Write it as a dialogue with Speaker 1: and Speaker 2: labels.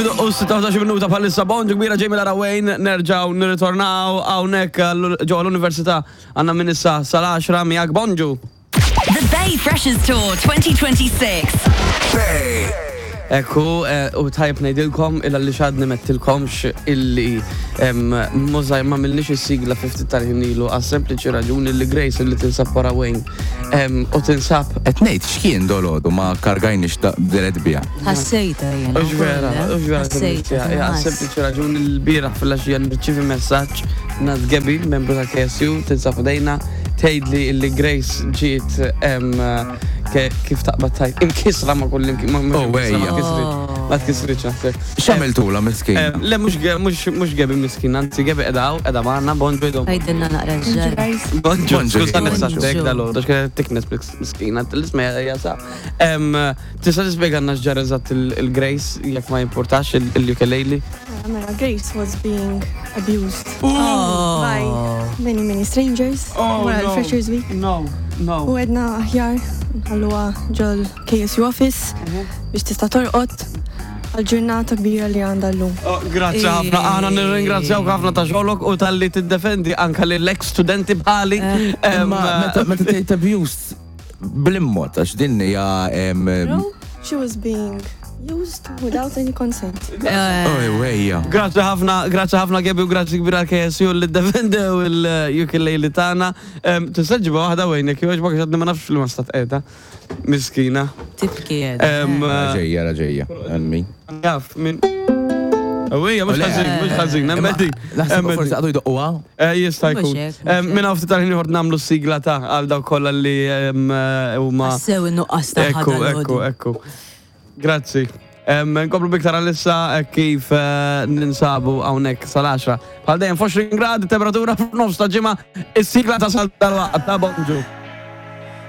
Speaker 1: Fidu u 16 minuta bħalissa bonġu kbira Jamie Lara Wayne nerġaw nirritornaw hawnhekk ġewwa l-Università għandna minn issa sal-10 miegħek bonġu.
Speaker 2: The Bay Freshers Tour 2026.
Speaker 3: Bay.
Speaker 1: Ekku, eh, u tajb ngħidilkom illa li xadni mettilkomx illi mużaj ma milniex is-sigla 50 tal-ħin ilu għas sempliċi raġuni li Grace li tinsab wara Wayne u tinsab.
Speaker 3: Qed ngħid x'kien dolodu ma kargajniex ta' deret biha.
Speaker 4: Ħassejta jien.
Speaker 1: Ux vera,
Speaker 4: eh?
Speaker 1: ux vera.
Speaker 4: Ħassejta.
Speaker 1: Ja, sempliċi raġuni l-bieraħ fil-għaxija nirċivi messaġġ nad Gebi, membru ta' KSU, tinsab ħdejna, tgħidli illi Grace ġiet kif taqbad tajt. Imkisra ma kull imkien.
Speaker 3: Oh, wejja.
Speaker 1: Ma tkisritx naħseb.
Speaker 3: X'għamiltula miskin?
Speaker 1: Le mhux Gebi miskin, anzi Gebi qiegħda hawn, qiegħda magħna, bonġu idhom.
Speaker 4: Għidilna naqra x'ġara.
Speaker 1: Bonġu,
Speaker 3: Bonġu,
Speaker 1: skużani
Speaker 3: bonġu.
Speaker 1: saqsejtek dal-għodu, x'kienet tiknes miskina, l-isma jasa. Tista' tispjegalna x'ġara eżatt il-Grace jekk ma jimpurtax il-ukulele?
Speaker 5: Mela, Grace was being abused
Speaker 4: Oh.
Speaker 5: by many, many strangers
Speaker 1: Oh,
Speaker 5: wara
Speaker 1: no.
Speaker 5: l-Freshers Week.
Speaker 1: No, no.
Speaker 5: U għedna aħjar nħalluha ġol KSU office biex tista' torqod għal-ġurnata kbira li għandha llum.
Speaker 1: Oh, Grazzi ħafna, aħna nirringrazzjawk ħafna ta' xogħlok u talli tiddefendi anka lill-ex studenti bħali.
Speaker 3: Imma meta meta tgħid abused bl-immod għax din hija em,
Speaker 5: She was being used without any consent.
Speaker 3: Oj, wejja.
Speaker 1: Grazzi ħafna, grazzi ħafna Gabi u grazzi kbira KSU li defendew il-ukulele tagħna. Tista' ġibha waħda wejn jekk jogħġbok għax għadni ma nafx li ma stat qiegħda. Miskina.
Speaker 4: Tibki
Speaker 3: Ra ġejja, ra ġejja. Emmi.
Speaker 1: Jaf min. Ewwejja, mhux
Speaker 3: Le.
Speaker 1: ħażin, mhux ħażin, hemm qegħdin.
Speaker 3: Naħseb
Speaker 1: Hemm
Speaker 3: forsi
Speaker 1: qegħdin.
Speaker 3: għadu jdoqquha.
Speaker 1: Eh, Jista'
Speaker 4: Mhux
Speaker 1: jkun.
Speaker 4: hekk, mhux hekk.
Speaker 1: Minn hawn ftit tal-ħin ieħor nagħmlu s-sigla ta' għal dawk kollha li huma.
Speaker 4: Sew in-nuqqas ta'
Speaker 1: Ekku, ekku, ekku. Grazzi. Nkomplu biktar għalissa eh, kif eh, ninsabu hawnhekk sal-10. Bħal dejjem 20 grad temperatura f'nofs ta' ġimgħa, is-sigla ta' sal tal-waqt ta' bonġu.